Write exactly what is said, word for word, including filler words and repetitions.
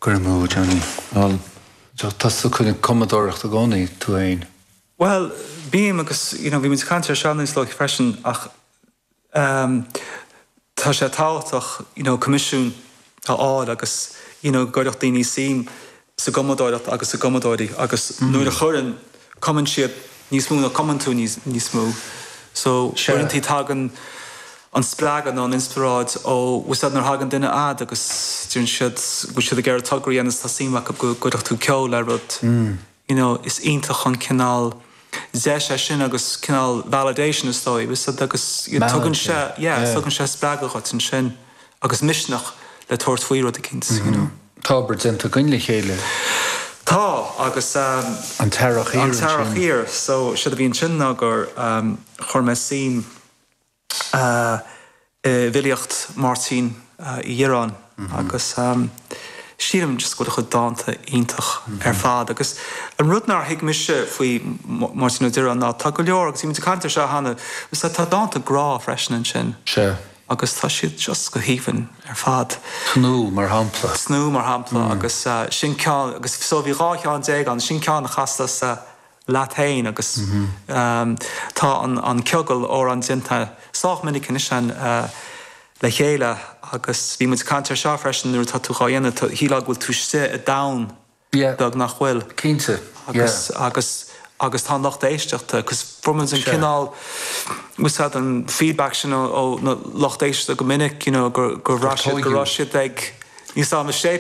Cur amú, Johnny. Well, Tá tú chun cumadóireacht i gcónaí tú féin. Well, bím agus you know, bhí muid caint ar seo níos luaithe freisin ach um, tá sé tábhachtach you know, coimisiún a fháil agus you know, go gcuirfeadh daoine suim sa gcumadóireacht agus sa gcumadóirí agus mm. nuair a chuireann cumann siad níos mó ná cumann tú níos, níos mó. So uaireanta tagann an spreagadh nó an inspioráid ó bhfuil nuair thagann duine chugat agus deireann siad bhfuil siad ag iarraidh togra agus tá suim acu go gcuirfeadh tú ceol le rud. Mm. You know, is iontach an cineál deis é sin agus cineál validation is dóigh, agus tugann sé yeah, yeah. tugann sé spreagadh duit ansin agus misneach le tabhairt faoi rud eicínt. Mm -hmm. you know. Tá obair déanta againn le chéile. Tá agus um, an t-earrach an t-earrach thiar so sé a bhí ansin ná gur um, chuir mé suim uh, i bhfilíocht Máirtín uh, Uí Dhireáin mm -hmm. agus um, sílim just go chuid dánta iontach mm -hmm. ar fad agus an rud nár thuig mise faoi Máirtín Ó Direáin ná tá go leor agus bhí caint seo cheana tá dánta grá freisin ansin. Se. agus tá siad just go haoibhinn ar fad. Tnúth mar shampla. Tnúth mar shampla mm. agus uh, sin ceann agus so bhí dhá cheann déag an sin ceann a chasas uh, leat féin agus mm -hmm. um, tá an, an ciogal amhrán déanta sách minic an uh, le chéile agus bhí muid caint seo freisin nuair tá tú á dhéanamh shílfeá go bhfuil tú istigh i domhan beag nach bhfuil. Cinnte. Agus yeah. agus agus tá lucht éisteachta, agus fuair an cineál úsáid an feedback sin ó na lucht éisteachta go minic you know, gur gur raibh siad ag ní sé